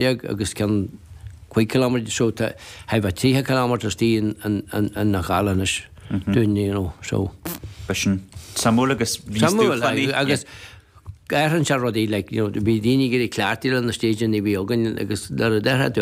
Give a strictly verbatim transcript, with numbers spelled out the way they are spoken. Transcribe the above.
déag agus ceann cúig kilometre so tá bheith tríocha kilometre tí an na gálanis dúinn you know, so. B'shin suimiúil agus bhí agus athraíonn sé rudaí like you know, bhí daoine ag cleachtadh na stage bhí againn agus dar a deirthe tú